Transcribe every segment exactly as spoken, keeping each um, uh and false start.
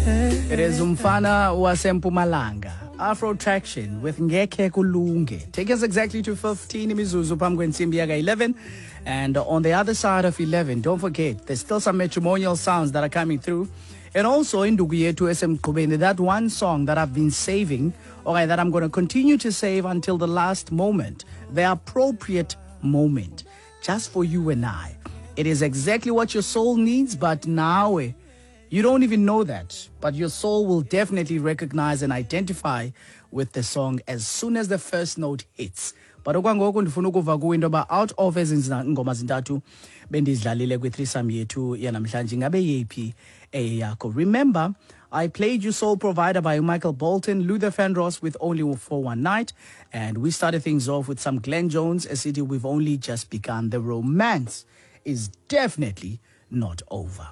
It is umfana wasempumalanga, Afro Traction with Ngeke Kulunge. Take us exactly to fifteen imizuzu phambi kwensimbi yaka eleven. And on the other side of eleven, don't forget, there's still some matrimonial sounds that are coming through. And also induku yethu esemgqubeni, that one song that I've been saving, okay, that I'm gonna continue to save until the last moment, the appropriate moment, just for you and I. It is exactly what your soul needs, but now eh, you don't even know that. But your soul will definitely recognize and identify with the song as soon as the first note hits. But okwangoku ndifuna ukuva kuwe into yoba out of ezi ngoma zintathu bendizidlalile kwi-threesome yethu yanamhlanje, ingabe yeyiphi eyeyakho? Remember, I played you Soul Provider by Michael Bolton, Luther Vandross with Only for One Night, and we started things off with some Glenn Jones, a city we've only just begun. The romance is definitely not over.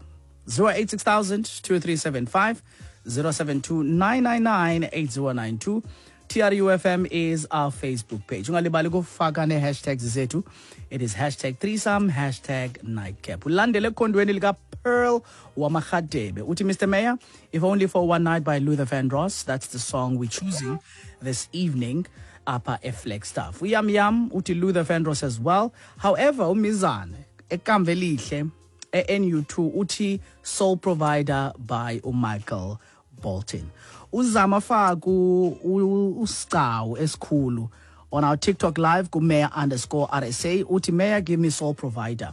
zero eight six thousand two three seven five, zero seven two nine nine nine eight zero nine two. T R U F M is our Facebook page. Ungalibali ukufaka ne-hashtags zethu. It is hashtag threesome, hashtag nightcap. Ulandele ekhondweni lika Pearl Wamahadebe. Uthi Mister Mayor, If Only for One Night by Luther Vandross. That's the song we're choosing this evening apha eFlagstaff. Uyam Yam uthi Luther Vandross as well. However, uMizane ekamva elihle e-N U two uthi Soul Provider by uMichael Bolton. Uzama Faku uScawu esikhulu on our TikTok live ku Mayor underscore R S A uthi Mayor, give me Soul Provider.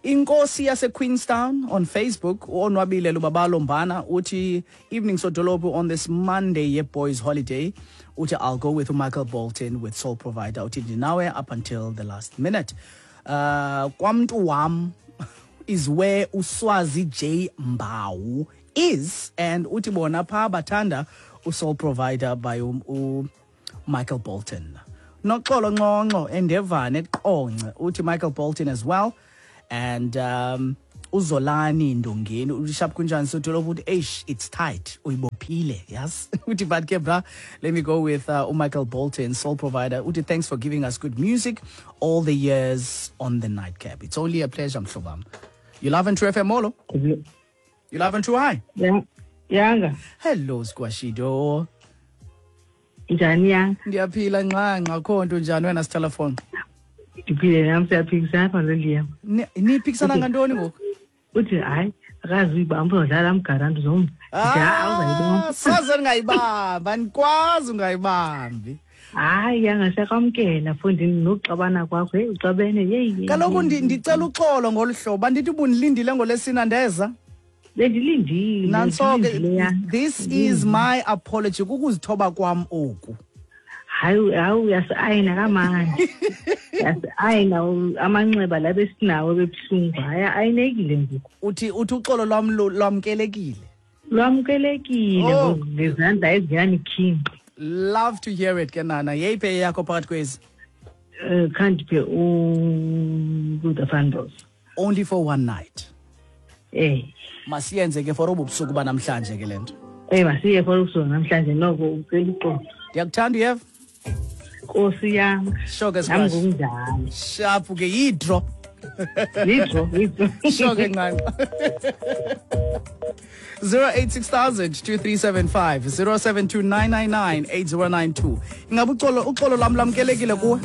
Inkosi yase Queenstown on Facebook uOnwabile Lubabalo Mbana uthi evening sodolophu on this Monday ye boys holiday uthi I'll go with Michael Bolton with Soul Provider uthi ndinawe up until the last minute. Uh, kwamntu wam is where Uswazi J Mbau is, and uthi bona pha bathanda uSoul Provider by u, u Michael Bolton. Noxolo Nxonxo endevane eQonce uthi Michael Bolton as well, and um, uZolani Ndongeni uthi sharp kunjani sodolophu uthi eish it's tight uyibophile, yes. Uthi but ke bra, let me go with, uh, uMichael Bolton Soul Provider. Uthi thanks for giving us good music all the years on the nightcap. It's only a pleasure mhlobam. You love and True F M molo. You love and True High. Yeah. Yanga. Hello Squashido. Njani yanga? Ndiyaphila nxa akho nto njani wena sitelefone? Ndiphile nami siyaphikisana apha noLiam. Niphikisana ngantoni ngoku? Uthi hayi akazi uyibamba uzodlala amgaranti uzomva. Ah, soze ndingayibamba, andikwazi ungayibambi. Hayi yanga siyakwamkela mfondini nokuxabana kwakho, hey uxabene yeyi. Kaloku ndicela uxolo ngolu hlobo, andithi ubundilindile ngolesina ndeza. Bendilindile. Nantso ke, this is my apology kukuzithoba kwam oku. Hayi hayi uyasiayina kamanje. Uyasiayina amanxeba la besinawo bebuhlungu, hayi ayinekile ngoku. Uthi uthi uxolo lwam lwamkelekile. Lwamkelekile ngezandla eziyanikhinqi. Love to hear it ke nana. Yeyiphi yakho phakathi kwezi? Eh khandiphe u Luther Vandross. Only for one night. Eh masiyenze ke for obubusuku banamhlanje ke lento. Eh masiye for ubusuku namhlanje noko ucela uxolo. Ndiyakuthanda uyeva. Nkosi yami. Sho ke Nami ngokunjalo. Sharp ke yidro. Yidro, yidro. Sho ke nqanqa. zero eight six thousand two three seven five zero seven two nine nine nine eight zero nine two. Ingabe uxolo uxolo lwam lamkelekile kuwe?